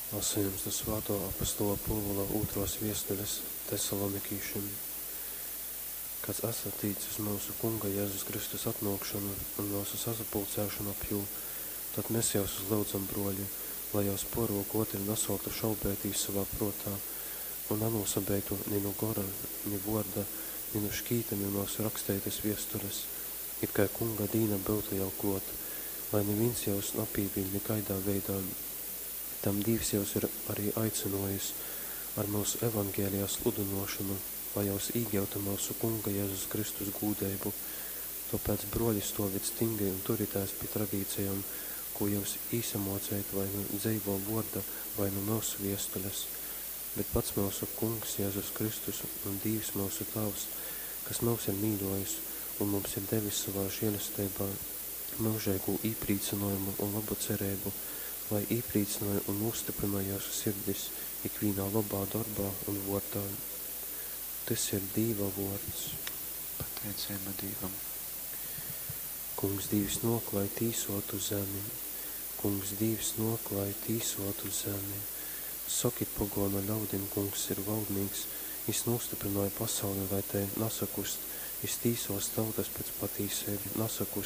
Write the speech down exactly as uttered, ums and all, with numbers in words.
Lasejums nu Svātō apostola Pōvula ūtrōs viestules Tesalonikīšim. Kad asat tic uz myusu Kunga Jezus Kristus atnōkšonu un myusu sasapulcēšonu ap jū, tod mes jyusus lyudzam, brōļi, lai jyus pōrōk ōtri nasōktu šaubeitīs sovā prōtā un nanūsabeitu ni nu gora, ni vōrda, ni nu škītami myusu raksteitas viestules, it kai Kunga dīna byutu jau klōt, lai nivīns jyus napīviļ nikaidā veidā. Tam Dīvs jyus ir ari aicynōjis ar myusu Evangelija sludynōšonu, lai jyus īgyutu myusu Kunga Jezus Kristus gūdeibu. Tōpēc, brōļi, stōvit stingri un turitēs pi tradīcijom, kū jyus īsamōcejot vai nu dzeivō vōrda, vai nu myusu viestules. Bet pats myusu Kungs Jezus Kristus un Dīvs myusu Tāvs, kas myus ir mīļōjis un mums ir devis sovā želesteibā myužeigū īprīcynōjumu un lobu cereibu, lai īprīcynoj un nūstyprynoj jyusu sirdis ikvīnā lobā dorbā un vōrdā. Tys ir Dīva vōrds. Pateiceiba Dīvam. Kungs Dīvs nōk, lai tīsōtu zemi. Kungs Dīvs nōk, lai tīsōtu zemi. Sokit pogōnu ļaudim, Kungs ir valdnīks, jys nūstyprynōja pasauli, lai tei nasakust, jys tīsōs tautas pēc patīseibu, nasakust,